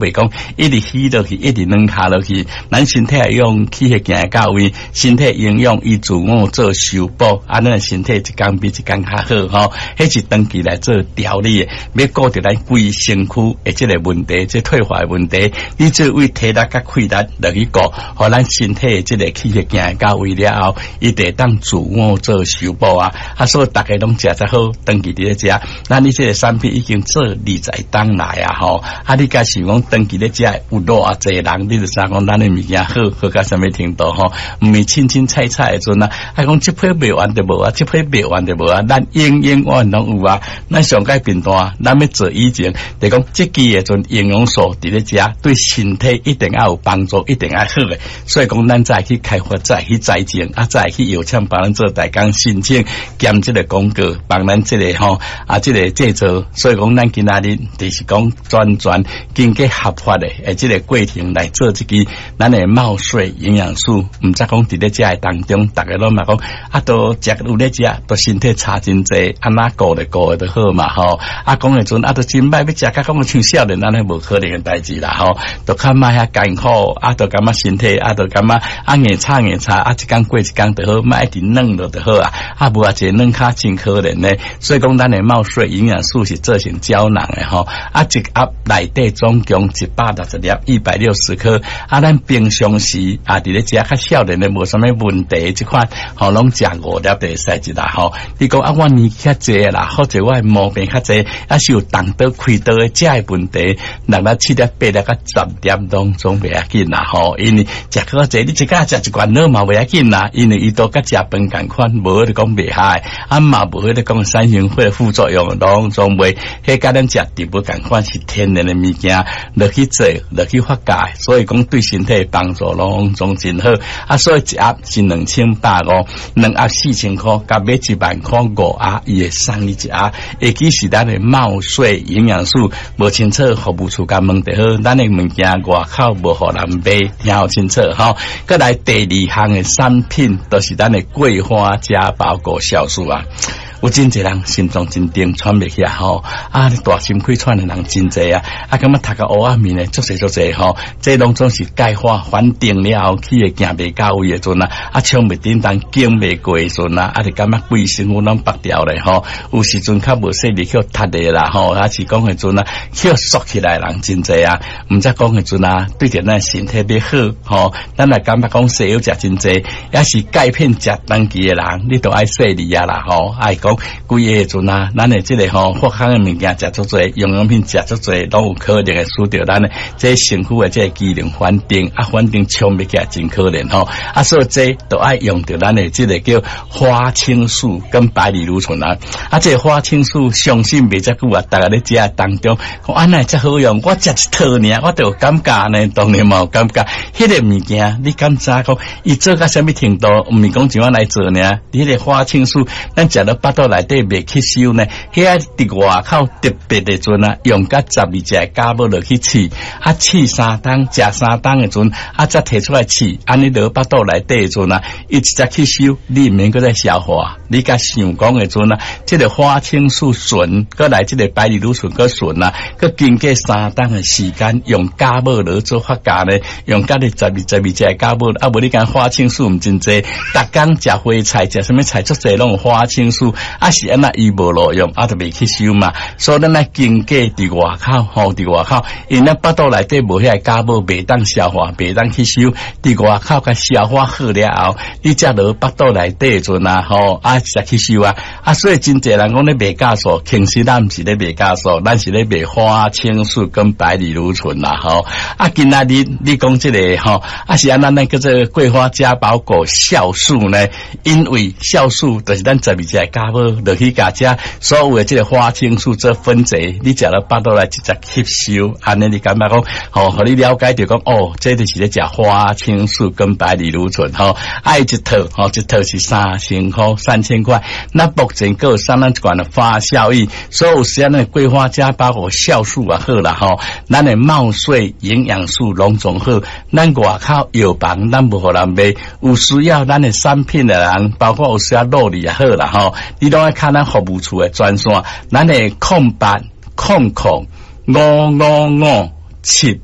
袂講一直起落去，一直軟跤落去，咱身體會用氣血行到位，身體營養伊自我做修補，啊，咱身體一工比一工較好吼。彼是長期來做調理的，欲顧著咱規身軀的這個問題，這退化的問題，你做為體力佮氣力落去顧，予咱身體的這個氣血行到位了後，伊就會當自我做修補啊。啊，所以逐家攏食才好，長期佇咧食。咱你這個產品已經做20冬來啊吼，啊，你敢想講長期咧食有偌濟人，你就知影講咱的物件好好到啥物程度吼？毋是凊凊彩彩的陣啊，啊講這批賣完就無啊，這批賣完就無啊，咱永永遠遠攏有啊。咱上蓋頻段，咱欲做以前，就講這支的陣營養素佇咧食，對身體一定愛有幫助，一定愛好的。所以講，咱再去開發，再去栽種，啊，再去藥廠幫咱做代工申請，兼這個廣告，幫咱這個吼啊，這個製造。所以講，咱今仔日就是講全全經過合法的，的這個過程來做這支咱的茂穗營養素。毋則講佇咧食的當中，逐家攏嘛講啊，都食有咧食，都身體差真濟，按怎顧就顧的就好嘛吼。啊，講的陣啊，都真歹欲食，較講像少年按呢無可能的代誌啦吼。都較莫遐艱苦，啊，都感覺身體啊，都感覺啊硬炒硬炒，啊一工過一工就好，莫一直軟落就好啊。啊，無啊，一個軟跤真可憐呢。所以講，咱的茂穗營養素是做成膠囊的吼。啊，一盒內底總共160粒，160顆。啊，咱平常時啊，佇咧食較少年的無啥物問題，這款吼攏食五粒就會使一啦吼。你講啊，我年紀較濟啦，或者我的毛病較濟，啊是有動刀開刀的這個問題，六粒、七粒、八粒、佮十粒攏總袂要緊啦吼。因為食較濟，你一工食一罐奶嘛袂要緊啦，因為伊都佮食飯仝款，無彼個講袂害，啊嘛無彼個講產生血副作用，攏總袂。彼佮咱食植物仝款是天然的物件，落去做，落去發酵，所以講對身體幫助攏總真好。啊，所以一盒是2150，兩盒4000箍，共買1萬箍五盒，伊會送你一盒。會記是咱的茂穗營養素，無清楚服務處共問就好。咱的物件外口無予人賣，聽好清楚吼。閣來第二項的產品，就是咱的桂花加包果酵素啊。有真濟人心臟真重，喘袂起來吼，啊，大心氣喘的人真濟啊，啊，感覺頭殼烏仔面的足濟足濟吼，這攏總是鈣化反定了後，氣會行袂到位的陣啊，啊，衝袂振動，經袂過的陣啊，啊，就感覺規身軀攏縛掉咧吼，有時陣較無細力去踢的啦吼，啊是講的陣啊，去縮起來人真濟啊，毋則講的陣啊，對著咱身體欲好吼，咱若感覺講西藥食真濟，抑是鈣片食長期的人，你都愛細膩啊啦吼，愛講。規个陣啊，咱的這個吼，發酵的物件食足濟，營養品食足濟，攏有可能會使著咱的這身軀的這個機能反定，啊，反正衝袂起來真可憐吼。啊，所以這都愛用著咱的這個叫花青素跟白藜蘆醇啊。啊，這個花青素相信袂遮久啊，逐家咧食當中，講按呢遮好用，我食一套爾，我就有感覺呢，當然嘛有感覺。彼個物件你敢知講，伊做到啥物程度？毋是講像按來做爾，彼個花青素，咱食了腹肚內底袂吸收呢，遐佇外口特別的陣啊，用佮12隻酵母落去試，啊試3冬，食3冬的陣，啊才提出來試，按呢落腹肚內底的陣啊，伊直接吸收，你毋免閣再消化。你共想講的陣啊，這個花青素醇，閣來這個白藜蘆醇閣醇啊，閣經過三冬的時間，用酵母落做發酵呢，用佮你12、12隻酵母，啊無你講花青素毋真濟，逐工食花菜，食啥物菜，足濟攏有花青素，啊是按怎伊無路用，啊就袂吸收嘛。所以咱愛經過佇外口，吼佇外口，因咱腹肚內底無遐個酵母，袂當消化，袂當吸收。佇外口共消化好了後，你才落腹肚內底的陣啊，吼啊才吸收啊。啊，所以真濟人講咧賣酵素，其實咱毋是咧賣酵素，咱是咧賣花青素跟白藜蘆醇啦，吼。啊，今仔日你講這個吼，啊是按怎咱叫做桂花加包果酵素呢？因為酵素就是咱12隻酵母落去共這所有的這個花青素做分解，你食了腹肚來直接吸收，按呢你感覺講，吼，予你了解著講，哦，這就是咧食花青素跟白藜蘆醇，吼，啊一套，吼，一套是3000箍，3000塊。那目前閣有送咱一罐的發酵液，所以有時咱的桂花加包果酵素也好啦，吼，咱的茂穗營養素攏總好，咱外口藥房咱無予人賣，有需要咱的產品的人，包括有需要努力也好啦，吼，你攏愛敲咱服務處的專線，咱的0800 555。七。